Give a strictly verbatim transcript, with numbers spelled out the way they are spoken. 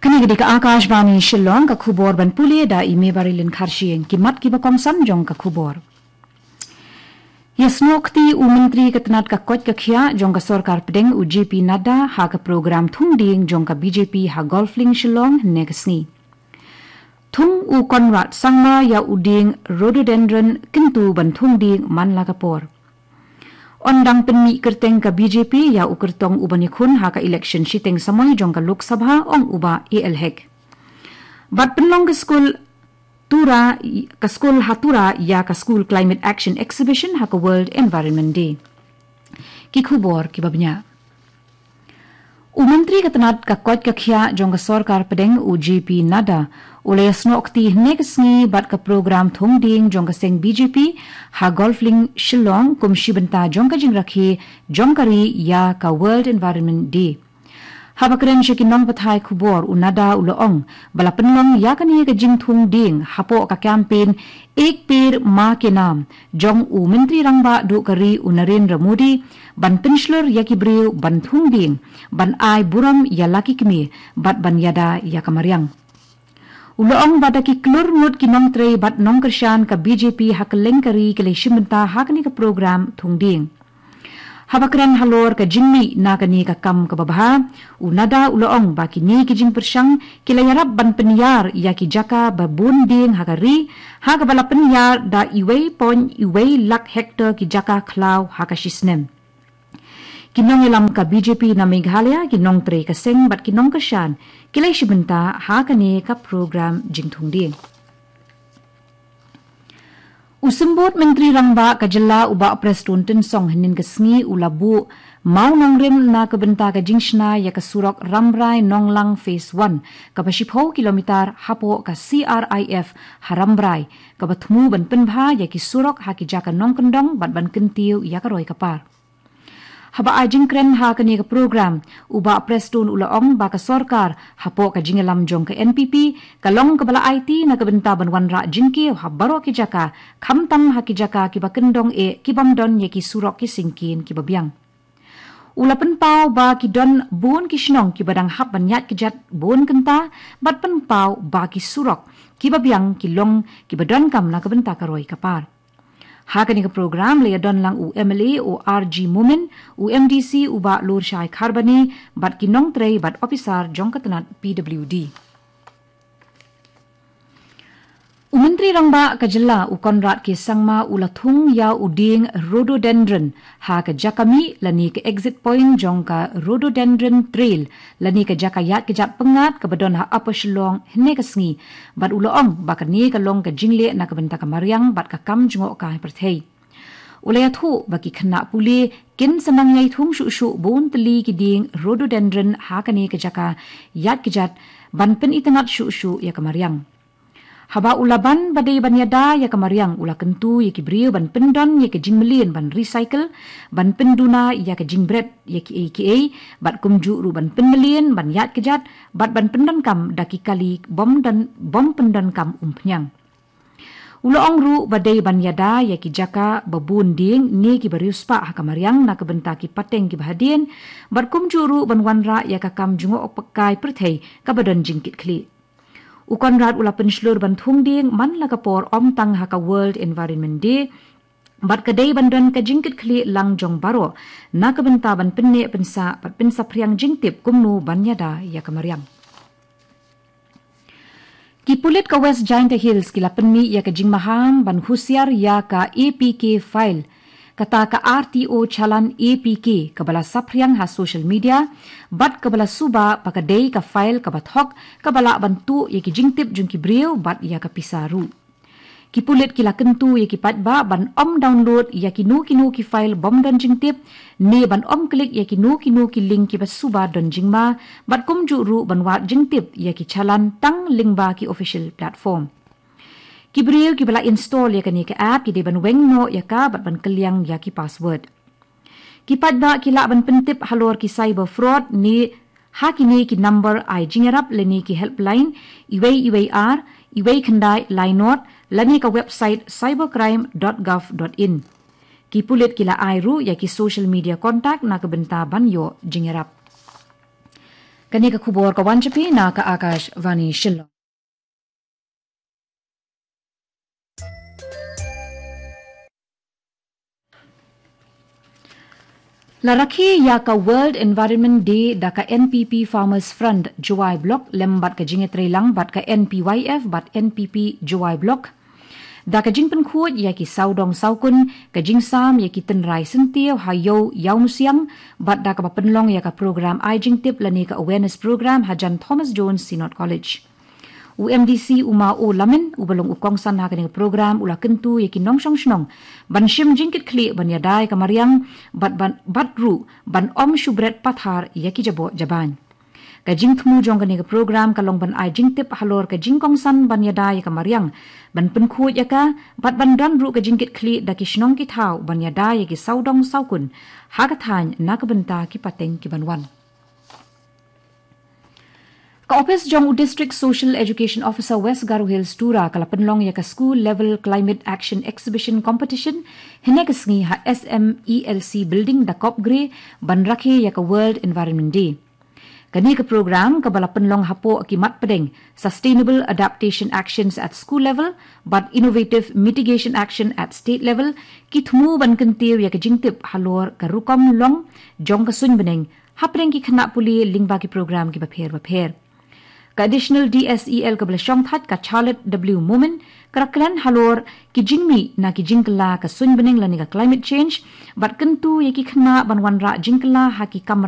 Kane ka dei ka Akashvani Shillong, ka khubor ban pule da i Mebarilin Kharshiing. Ki mat kiba kongsan jong ka khubor. Ïasnoh kti u Myntri ka tnat ka koit ka khiah jong ka sorkar pdeng, u J P Nadda, ha ka program thung dieng jong ka B J P ha Golf Link Shillong hynne ka sngi. Thung u Conrad Sangma ïa u dieng rhododendron kyntu ban thung dieng man la ka por. Yn dang pynmih kyrteng ka B J P ïa u kyrtong uban ïakhun ha ka election shiteng samoi jong ka Lok Sabha, ong u Bah A L Hek. Bad pynlong ka skul Tura, ka skul ha Tura ïa ka School Climate Action Exhibition ha ka World Environment Day. Ki khubor kiba bniah. U Myntri ka tnat ka koit ka khiah jong ka sorkar pdeng, u J P Nadda, u la ïasnoh kti hynne ka sngi bad ka program thung dieng jong ka seng B J P ha Golf Link Shillong kum shi bynta jong ka jingrakhe jong ka ri ïa ka World Environment Day. Haba kren sha ki nongpathai khubor, u Nadda u la ong ba la pynlong ïa kane ka jingthung dieng hapoh ka campaign Ek Ped Maa Ke Naam jong u Myntri Rangbah duh ka ri, u Narendra Modi, ban pynshlur ïa ki briew ban thung dieng, ban ai burom ïa la ki kmie, bad ban ïada ïa ka mariang. U la ong ba da ki klur ngut ki nongtrei bad nongkyrshan ka B J P ha kylleng ka ri ki la shim bynta ha kane ka program thung dieng. Haba kren halor ka jingmih na kane ka kam kaba bha, u Nadda u la ong ba kine ki jingpyrshang ki la ïarap ban pynïar ïa ki jaka ba bun dieng ha ka ri, ha kaba la pynïar da iwei point iwei lak hektar ki jaka khlaw ha ka shisnem. Ki nongïalam ka B J P na Meghalaya, ki nongtrei ka seng bad ki nongkyrshan ki la shim bynta ha kane ka program jingthung dieng. U Symbud Myntri Rangbah ka jylla, u Bah Prestone Tynsong, hynnin ka sngi u la buh mawnongrim na ka bynta ka jingshna ïa ka surok Rambrai Nonglang Phase One, kaba shiphew kilometer hapoh ka C R I F ha Rambrai, kaba thmu ban pynbha ïa ki surok ha ki jaka nongkyndong bad ban kyntiew ïa ka roi ka par. Haba ai jingkren ha kane ka program, u Bah Prestone u la ong ba ka sorkar, hapoh ka jingïalam jong ka N P P, ka long kaba la aiti na ka bynta ban wanrah jingkiew ha baroh ki jaka, khamtam ha ki jaka kiba kyndong eh, kibym don ïa ki surok ki syngkien kiba biang. U la pynpaw ba ki don bun ki shnong kiba dang hap ban ïaid kjat bun kynta, bad pynpaw ba ki surok kiba biang ki long kiba donkam na ka bynta ka roi ka par. Ha kane ka program la ïadon lang u M L A u R G Momin, u M D C u Bah Lurshai Kharbani, bad ki nongtrei bad ophisar jong ka tnat P W D. U Myntri Rangbah ka jylla, u Conrad K Sangma, u la thung ïa u dieng rhododendron ha ka jaka mih lane ka exit point jong ka Rhododendron Trail, lane ka jaka ïaid kjat pyngngad kaba don ha Upper Shillong hynne ka sngi, bad u la ong ba kane ka long ka jingleh na ka bynta ka mariang bad ka kam jngohkai pyrthei. U la ïathuh ba ki khynnah pule kin sa nang ïai thung shuh shuh bun tylli ki dieng rhododendron ha kane ka jaka ïaid kjat ban pynitynnad shuh shuh ïa ka mariang. Haba u la ban ba dei ban ïada ïa ka mariang, u la kyntu ïa ki briew ban pyndon ïa ka jingmlien ban recycle, ban pynduna ïa ka jingbret ïa kiei kiei, bad kumjuh ruh ban pynmlien ban ïaid kjat, bad ban pyndonkam da ki kali bym don, bym pyndonkam umphniang. U la ong ruh ba dei ban ïada ïa ki jaka ba bun dieng ne kiba riewspah ha ka mariang na ka bynta ki pateng kiba hadien, bad kumjuh ruh ban wanrah ïa ka kam jngohkai pyrthei kaba don jingkitkhlieh. U Conrad u la pynshlur ban thung dieng man la ka por ym tang ha ka World Environment Day, bad ka dei ban don ka jingkitkhlieh lang jong baroh na ka bynta ban pynneh pynsah bad pynsaphriang jingtip kumno ban ïada ïa ka mariang. Ki pulit ka West Jaintia Hills ki la pynmih ïa ka jingmaham ban husiar ïa ka A P K file, kata ka R T O challan A P K, kaba la saphriang ha social media, bad kaba la suba ba ka dei ka file kaba thok, kaba lah ban tuh ïa ki jingtip jong ki briew bad ïa ka pisa ruh. Ki pulit ki la kyntu ïa ki paidbah ban ym download ïa kino kino ki file bym don jingtip, ne ban ym klik ïa kino kino ki link kiba suba don jingma, bad kumjuh ruh ban wad jingtip ïa ki challan tang lyngba ki official platform. Ki briew kiba la install ïa kane ka app ki dei ban weng noh ïa ka bad ban kylliang ïa ki password. Ki paidbah ki lah ban pyntip halor ki cyber fraud ne ha kine ki number ai jingïarap lane ki helpline, iwei iwei ar, iwei khyndai lai nod, lane ka website cybercrime dot gov dot in. Ki pulit ki la ai ruh ïa ki social media contact na ka bynta ban ïoh jingïarap. Kane ka khubor ka wan sha phi na ka Akashvani Shillong. La rakhe ïa ka World Environment Day da ka N P P Farmers Front Jowai Block lem bad ka jingïatreilang bad ka N P Y F bad N P P Jowai Block. Da ka jingpynkhuid ïa ki sawdong sawkun, ka jingsam ïa ki tynrai syntiew ha Ïew Ïawmusiang, bad da kaba pynlong ïa ka program ai jingtip lane ka awareness program hajan Thomas Jones Synod College. U M D C u Ma O Lamin, uba long u kongsan ha kane ka program, u la kyntu ïa ki nongshong shnong ban shim jingkitkhlieh ban ïada ïa ka mariang, bad ban, bad ruh ban ym shu bret pathar ïa ki jaboh jabain. Ka jingthmu jong kane ka program ka long ban ai jingtip halor ka jingkongsan ban ïada ïa ka mariang, ban pynkhuid ïa ka, bad ban don ruh ka jingkitkhlieh da ki shnong ki thaw ban ïada ïa ki sawdong sawkun ha ka thaiñ na ka bynta ki pateng ki ban wan. Ka ophis jong u District Social Education Officer West Garo Hills, Tura, ka la pynlong ïa ka School Level Climate Action Exhibition Competition hynne ka sngi ha S M E L C Building, Dakopgre, ban rakhe ïa ka World Environment Day. Kane ka program kaba la pynlong hapoh ki mat pdeng Sustainable Adaptation Actions at School Level bad Innovative Mitigation Action at State Level, ki thmu ban kyntiew ïa ka jingtip halor ka rukom long jong ka suiñ bneng hapdeng ki khynnah pule lyngba ki program kiba pher bapher. Ka Additional D S E L kaba la shongthait, ka Charlotte W Momin, ka la kren halor ki jingmih na ki jingkylla ka suiñ bneng lane ka climate change, bad kyntu ïa ki khynnah ban wanrah jingkylla ha ki kamra